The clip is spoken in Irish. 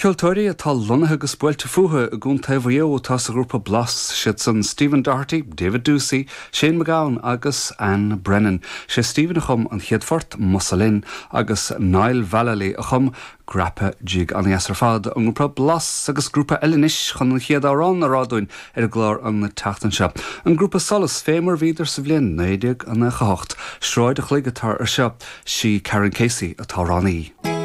Ceoltóirí atá lonnaithe agus buailte fúthu i gContae Mhaigh Eo atá sa ghrúpa Blas, siad san Stephen Doherty, David Doocey, Shane MacGowan agus Anne Brennan. Sé Stephen a chum an chéad phort, Musa Linn, agus Niall Vallely a chum Grappa Jig. An-dheas ar fad, an grúpa Blas agus grúpa eile anois chun an chéad amhrán a rá dúinn ar an gclár an tseachtain seo. An grúpa Solas, fé mar a bhíodar sa bhliain 1998. Sráid a' Chloig atá ar seo, sí Karen Casey an t-amhránaí.